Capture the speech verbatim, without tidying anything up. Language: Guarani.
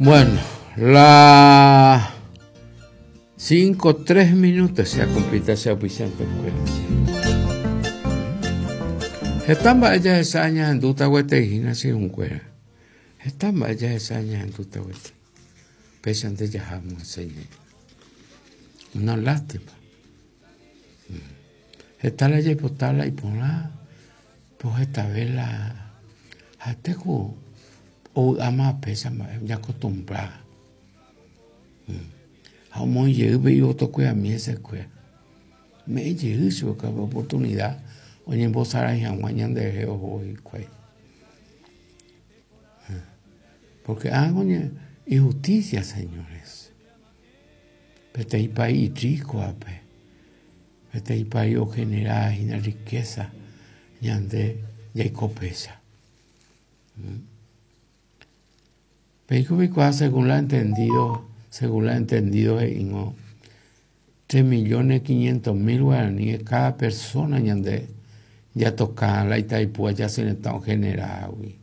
Bueno, la cinco tres minutos se ha cumplido ese auspiciante. Heta mba'e jahecha ñahendúta gueteri hína che irũnguéra. Heta mba'e jahecha ñahendúta gueteri. Péichante jaháma che. Una lástima. Heta la jaipota la iporã, po hetave la ha'etéko ovy'áma péicha mba'e oñacostumbra. Ha omoĩjey pe ivotokuerami hesekuéra. Me'ẽjey chupekuéra oportunidad oñembosarái hag̃ua ñanderehe oho hikuái. Porque ág̃a injusticia, señores. Peteĩ país irríkovape, peteĩ país ogenerahína riqueza ñande jaiko péicha. Peiko peikuaa según la entendido, según la entendido he'íg̃o tres millones quinientos mil guaraníes cada persona ñande jatoka la Itaipúva Yasyretã ogeneragui.